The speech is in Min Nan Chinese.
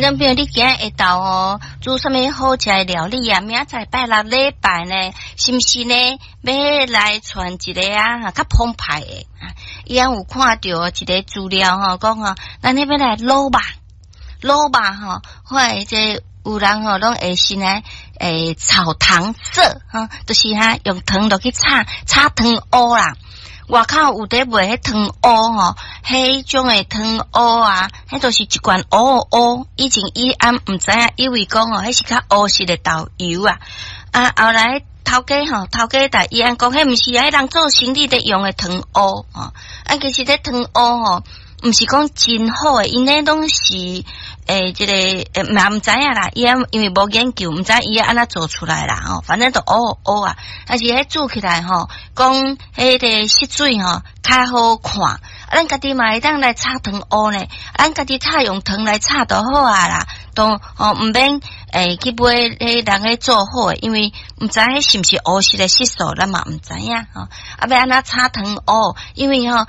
咱比如你今仔下晝吼煮啥物好食的料理啊？明仔載拜六禮拜呢，是毋是呢？欲來傳一个啊，較澎湃的。伊翁有看著一个資料吼，講吼，咱欲來滷肉，滷肉吼，看這有人吼攏會先來炒糖色，吼，就是哈用糖落去炒，炒糖烏啦。外口有佇賣彼糖烏吼，彼種的糖烏啊，彼都是一罐烏烏。以前伊翁毋知影，以為講吼，彼是較烏色的豆油啊。啊，後來頭家吼，頭家共伊翁講，彼毋是啊，彼人做生理佇用的糖烏吼。啊，其實這糖烏吼，毋是講真好的，𪜶咧攏是這个嘛毋知影啦，伊翁因為無研究，毋知伊按怎做出來啦吼，反正都烏烏啊，但是彼煮起來吼，講彼个色水吼較好看。啊，咱家己嘛會當來炒糖烏呢，咱家己炒用糖來炒就好啊啦，都吼毋免去買彼人咧做好的，因為毋知彼是毋是烏色的色素，咱嘛毋知影吼。啊，欲按怎炒糖烏，因為吼。